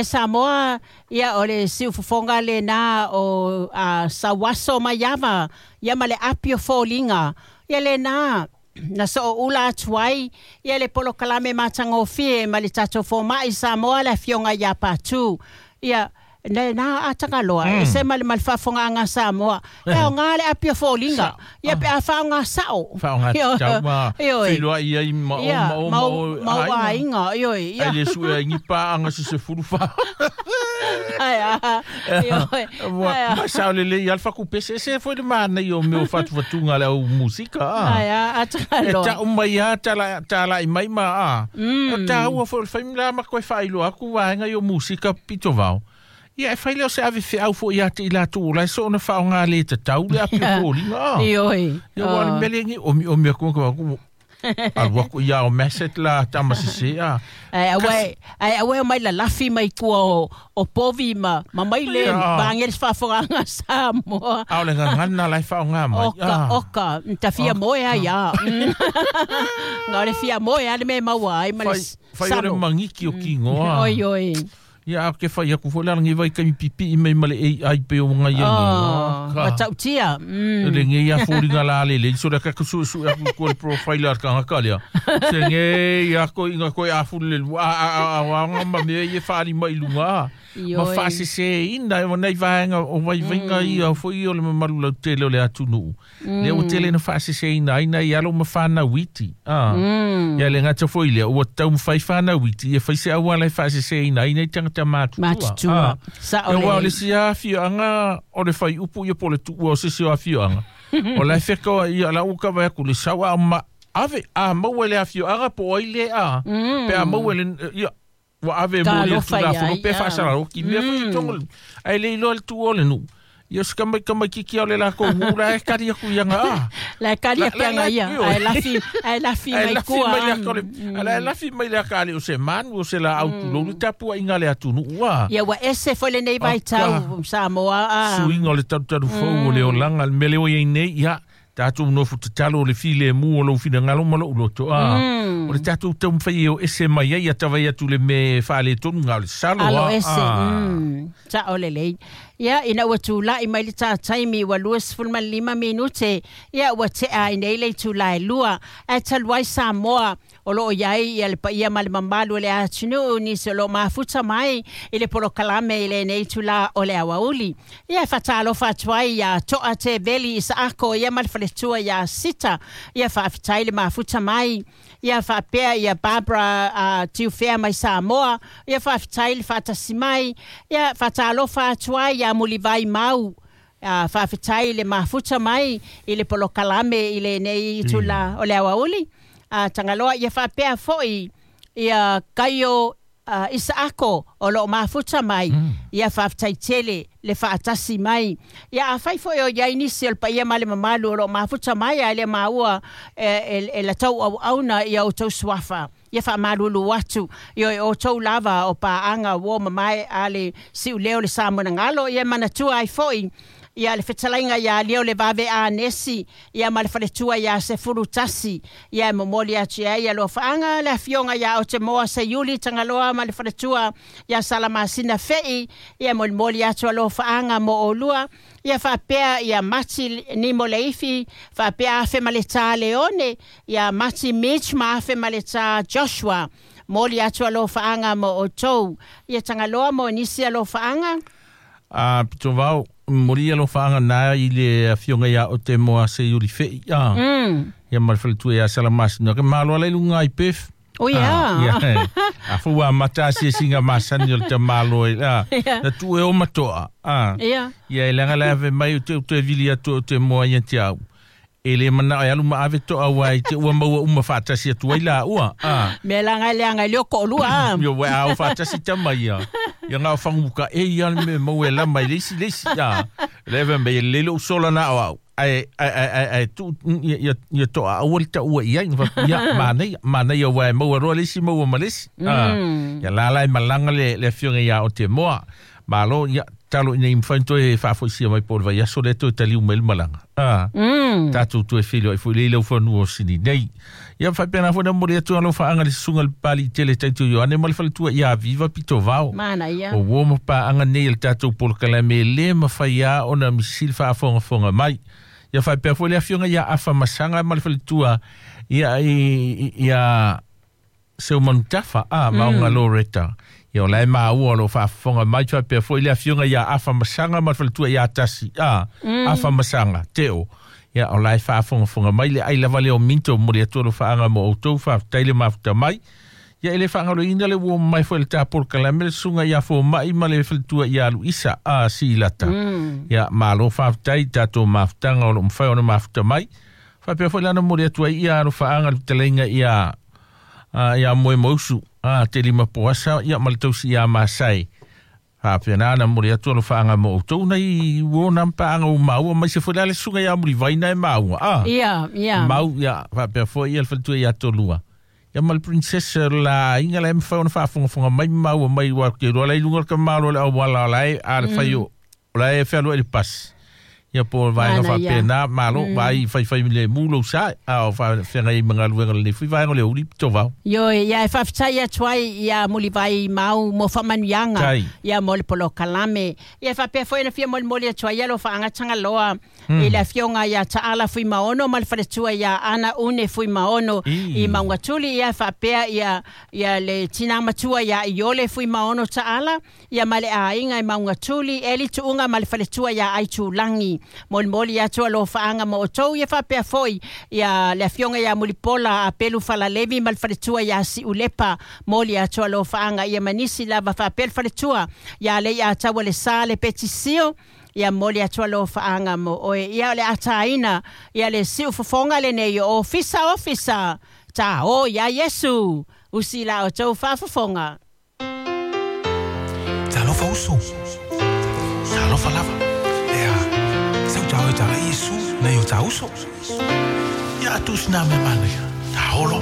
Samoa, ia o le siufofoga lena o Sauaso Maiava, ia ma le api o foliga, ia lena na sooula atu ai ia le polokalame matagofie ma le tatou fomaʻi Samoa le afioga iā Patu. Ia lena atagaloa e se ma le ma le faafogaaga Samoa e aoga le api o foliga, ia pe a faaaoga sao. Faaaoga tatau ma feiloai ai ma o ma o ma o ma o aiga, ioe. Ia. Ai le sue ai ni paaga se 14. Ai a, ioe. Ma sao le le alfa ku pese se foi le mana i o mea o fatufatuga le au musika. Ai a, atagaloa. E tau mai a tala i mai ma a. O tāua foi o le faimila ma koe whailo aku vaenga i o musika pito vao. Ia e whaile o se ave whiau fo ia te ila tū lai so ona whao ngā le te tau le api o fōlinga. Ioi. Ia wā le mele ngi omi omi aku aku alu aku ia o meset la tamasese a. Ai awe mai la lafi mai tua o povi ma mai le bangelis whawhanga Samoa. Au le ngangana lai whao ngā mai. Oka, oka, ta fia moe a ia. Ngā le fia moe a le me maua ai ma le salo. Whai ore mangiki o ki ngoa. Oi, oi. Ia a ke whai aku fo le vai kami pipi i mai ma le AI pe o ngai ai. Matautia. Le nge ia fōringa la le le. So le kaku su su aku ko le profile ar kanga kalia. Se nge ia ko inga ko a fu le a a a a ma me ia whaari mai lunga. Ma whaasese ina e wanai vaenga o vai vainga ia fo i o le mamalu lau tele o le atunuu. Le o tele na whaasese ina aina i alo ma whanau iti. Ia le ngata fo i lea ua tau mwhai whanau iti. Ia whaise awala e whaasese ina aina i tangata matutua. Sa o le. Ia o le si afioaga o le whai upu ia po le tuua o se si o afioaga. O la whekawa ia la uka vai aku le sawa ma ave a maua le afioaga po ai le a. Pe a maua le ia wa ave mo le tula fo pe fa sala o ki mea fo tongo ai le ilo le tuo le nu. Ia se kamai kamai kiki au le la ko hula e kari aku ia ngā. La kari aku ia ia. Ai la fi mai kua. Ai la fi mai le akale o se manu o se la au tu lolu tapu ai ngā le atunu ua. Ia wa ese fo le nei vai tau Samoa. Suinga o le taru taru fau o le olanga le mele o ia nei ia. Tātou nofu te talo o le file mu o lau whina ngalo ma lou loto. O le tātou tau mwhai o ese mai ai a tawai atu le me whaale tonu ngā o le salo. Alo ese, ta o le lei. Ia, ina ua tūlai mai le tātaimi ua 25 minute. Ia, ua te a ina ile tūlai lua. A taluai Samoa o loo iai ia le paia ma le mamalu o le atunuu ni se o loo mafuta mai i le polokalame i lenei tula o le awauli. Ia, whatalofa atu ai ia toa te veli i saako ia ma le faletua ia sita. Ia, whaafetai le mafuta mai. Ia, whaapea ia Barbara Tiufea mai Samoa. Ia, whaafetai le whaatasi mai. Ia, whatalofa atu ai ia mulivai mau. Whaafetai le mafuta mai i le polokalame i lenei tula o le awauli. Tangaloa ia whaapea foi ia kaio Isaako o loo mafuta mai. Ia whaafetai tele le whaatasi mai. Ia a whai foi o iai nisi o le paia ma le mamalu o loo mafuta mai a le maua e la tau au auna ia o tau suafa. Ia wha malulu atu ia o tau lava o paanga o mamae a le siu leo le Samoa ngalo ia manatua ai foi. Ia le fetalainga ia leo le vave a nesi ia ma le faletua ia se fulu tasi ia momoli atu ia lo whaanga le afionga ia o te moa se yuli tangaloa ma le faletua ia salamasina fei ia momoli atu lo whaanga mo olua ia whapea ia mati ni moleifi whapea afe maleta Leone ia mati Mitch ma afe maleta Joshua moli atu lo whaanga mo o tou ia tangaloa mo nisi lo whaanga. A pito vau mori lo whaanga nā i le afionga ia o te moa se yuri whei. Ia ma le faletua ia salamasina. Ke malo ala i lunga i pef. O ia. A fua mata si singa masani o le te malo i. Na tu e o matoa. Ia. Ia e langa le ave mai o te o te vili atu o te moa ia te au. E le mana ai alu ma ave toa wai te ua maua uma whaatasi atu ai la ua. Me langa le anga leo ko lua. Yo wa au whaatasi tama ia. Ia ngā whanguka e ia me maua e lama i leisi leisi. Lewe me le lelo sola na au. Ai ai ai ai tu ia ia toa au le ua ia ia manei manei wa maua roa leisi maua ma leisi. Ia la la malanga le fionga ia o te moa. Malo ia Talo ina i mawhai toe whaafoisia mai po le vai aso le toe taliu mai le malaga. Tātou toe whilo ai fo i leila whanua o sini nei. Ia whaipena fo na mori atu alo whaanga le susunga le pali tele taitu Ioane ma le faletua ia viva pito vao. Mana ia. O uo ma paanga nei le tātou polokalame le mawhai a ona misili whaafongafonga mai. Ia whaipea fo le afionga ia afa masanga ma le faletua ia ia seu manutafa a maunga Loretta. Ia o lai maua lo whaafonga mai whaipea fo le afionga ia afa masanga ma le faletua ia tasi. Afa masanga, teo. Ia o lai whaafongafonga mai le ai lava leo minto mo le atua lo whaanga mo outou whaaftai le mafuta mai. Ia ele whaangalo ina le uo mai fo le tāpol kalame le sunga ia fo mai ma le faletua ia alu isa a si lata. Ia malo whaaftai tātou mafutanga o lo mwhai ona mafuta mai. Whaapea fo lana mo le atua ia alo whaanga le talenga ia ia moe mausu te lima poasa ia ma le tausi ia masai. Whaapea nā mo le atua lo whaanga mo outou nei uo nā mpaanga o maua mai se fo le sunga ia muri vaina e maua. Ia, ia. Mau ia whaapea fo ia le faletua ia tolua. Ia ma le princesa la inga le mwhai ona whaafongafonga mai maua mai wa ke roa lai lunga ka malo le au wala lai a le whai o lai e whalua i le pas. Ia po vaenga whaapea nā malo vai whai whai le mūlo sa a o whaenga i mga luenga le fui vaenga le uri pito vau. Io ia e whawhitai atu ai ia muli vai mau mo whamanuianga ia mo le polo kalame. Ia whapea fo ina fia moli moli atu ai ia lo whaangatanga loa i le afionga ia taala fui maono ma le faletua ia ana une fui maono i maungatuli ia whapea ia ia le tina matua ia iole fui maono taala ia ma le ainga i maungatuli eli tuunga ma le faletua ia aitulangi. Moli moli atu alo whaanga mo outou ia whapea foi ia le afionga ia mulipola a pelu falalevi ma le faletua ia siulepa moli atu alo whaanga ia manisi lava whapea le faletua ia le ia taua le sa le petisio ia moli atu alo whaanga mo oe ia le ataina ia le siu fofonga le nei o ofisa ofisa ta o ia Yesu usi la o tau whaafofonga. Talofa uso. Talofa lava. Tau Yesu na yo tau so. Ia tu sna me mane. Ta holo.